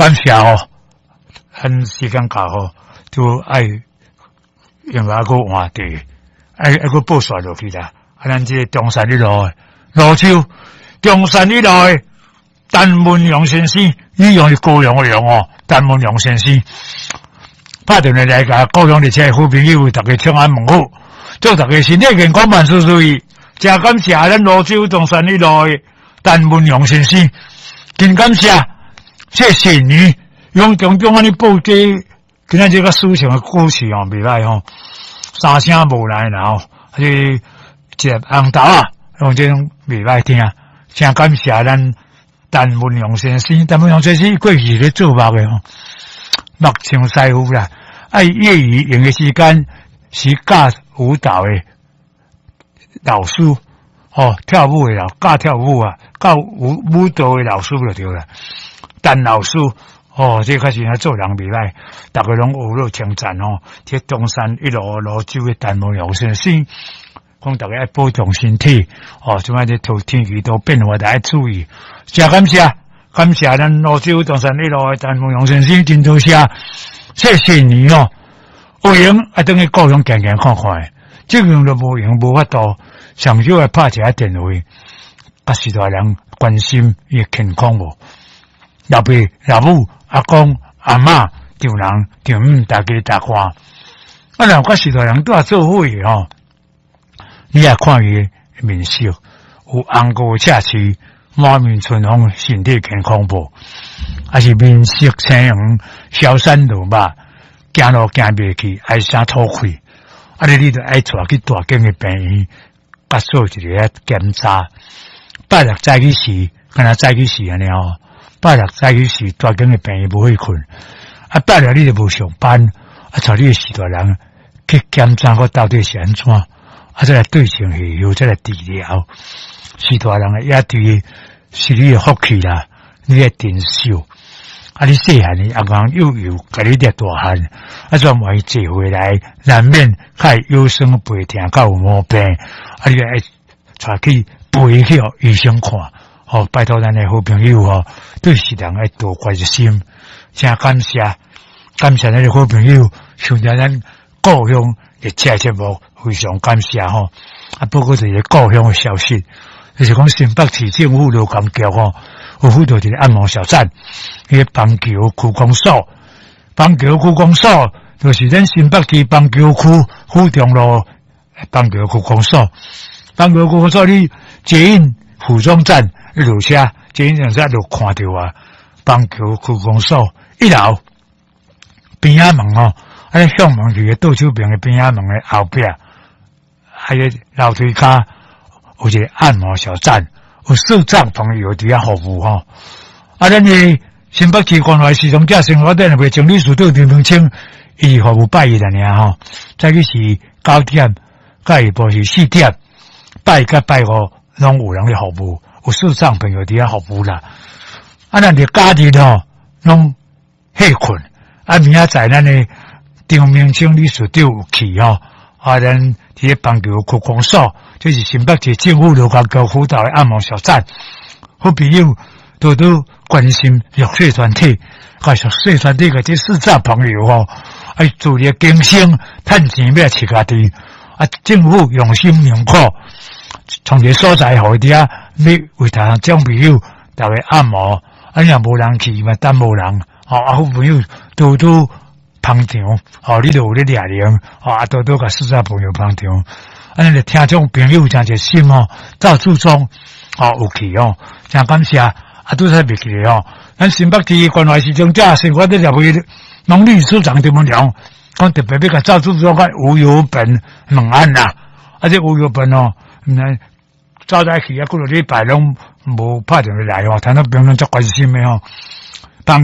感謝哦，咱時間到吼，就愛用來閣換地，愛愛閣報煞落去啦。啊，咱這個中山一路的蘆洲，中山一路的陳文陽先生，你用是高雄的陽哦，陳文陽先生拍電話來共故鄉佇遮的好朋友，逐家請安問好，祝逐家身體健康，萬事如意。誠感謝咱蘆洲中山一路的陳文陽先生，真感謝，謝謝你用種種按呢報這今仔這個抒情的歌詞哦，袂䆀吼，三聲無來啦吼，啊這一粒紅豆仔，用這種袂䆀聽，誠感謝咱陳文陽先生，陳文陽先生過去是咧做木的吼，木匠師傅啦，啊業餘閒的時間是教舞蹈的老師，吼，跳舞的老教跳舞啊，教舞舞蹈的老師就對啦。陳老師，哦，這確實做人袂䆀，逐家攏學了稱讚吼。這中山一路蘆洲的陳文陽先生，講逐家愛保重身體，哦，這擺這天氣都變化，著愛注意。誠感謝，感謝咱蘆洲中山一路的陳文陽先生，真多謝，謝謝你哦。有閒愛轉去故鄉行行看看，這樣都無閒無法度，上少愛拍一下電話，佮序大人關心伊的健康無？老爸、老母、阿公、阿嬤、丈人、丈母，大家大看。啊，若有佮序大人拄仔做伙的吼，你也看伊的面色，有紅膏赤翅，滿面春風，身體健康無？還是面色青黃，消瘦落肉，行路行袂去，唉聲吐氣。啊！你著愛帶去大間的病院，佮做一个檢查。拜六早起時，敢若早起時按呢吼。拜六早起時，大間的病院無去睏。啊，拜六你著無上班，啊，帶你的序大人去檢查，看到底是按怎？啊，再來對症下藥，再來治療。序大人的也對是你的福氣啦，你愛珍惜。啊！你細漢的阿公幼幼共你掠大漢，啊，煞萬一坐回來，難免較會腰酸背疼，較有毛病。啊，你愛帶去陪去予醫生看。吼，拜託咱的好朋友吼，對序大人愛多關心。誠感謝，感謝咱的好朋友，收聽咱故鄉的這節目，非常感謝吼。啊，報告一個故鄉的消息，就是講新北市政府勞工局吼，有輔導一個按摩小站，彼個板橋區公所，板橋區公所就是咱新北市板橋區府中路板橋區公所，板橋區公所你捷運府中站一落車，捷運站就看著啊，板橋區公所一樓邊仔門吼，啊向門去的倒手邊的邊仔門的後壁，還有樓梯跤有一個按摩小站。有視障朋友佇遐服務吼，啊，咱的新北市關懷視障者生活聯合會前理事長陳文清，伊是服務拜一爾吼，早起是9點，到下晡是4點，拜一佮拜五攏有人咧服務，有視障朋友佇遐服務啦。啊，咱佇假日吼攏歇睏，啊，明仔載咱的張明清理事長有去吼，啊，咱佇咧板橋區公所。這是新北市政府勞工局輔導的按摩小站，好朋友多多關心弱勢團體，佮弱勢團體个這視障朋友吼，愛自力更生，趁錢欲飼家己，啊，政府用心良苦，創一個所在予伊佇遐，欲為大眾朋友逐家按摩，啊，若無人去嘛，等無人，吼，啊，好朋友多多捧場，吼，你著有咧掠人，吼，啊，多多共視障朋友捧場。啊，咱的聽眾朋友誠熱心吼，趙志忠吼有去吼，誠感謝。啊，拄才袂記得吼，咱新北市關懷視障者生活聯合會農理事長陳文良，講特別欲共趙志忠佮吳有本問安啦。啊，這吳有本吼，毋知早早去啊，幾落禮拜攏無拍電話來吼，聽眾朋友足關心的吼。